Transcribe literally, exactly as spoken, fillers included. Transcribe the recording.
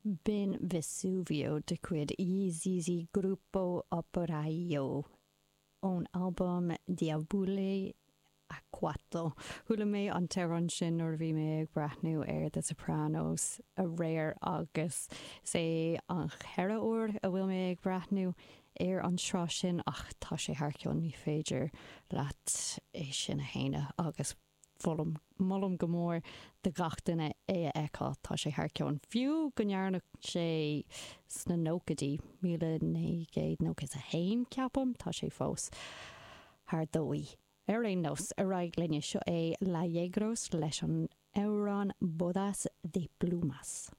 B'in Vesuvio de chuid I Zizi Gruppo Operaio ón albam Diavola a Quattro. Chuala mé an t-amhrán sin nuair a bhí mé ag breathnú ar The Sopranos aréir agus is é an ceathrú huair a bhfuil mé ag breathnú ar an tsraith sin ach tá sé thar cionn ní féidir leat é sin a shéanadh agus molaim molaim go mór do gach duine é a fheiceáil tá sé thar cionn. Fiú go ndearnadh sé sna nóchaidí míle naoi gcéad nócha a haon ceapaim tá sé fós thar dóigh. Ar aon nós ar aghaidh linne seo é La Yegros leis an amhrán Bodas de Plumas.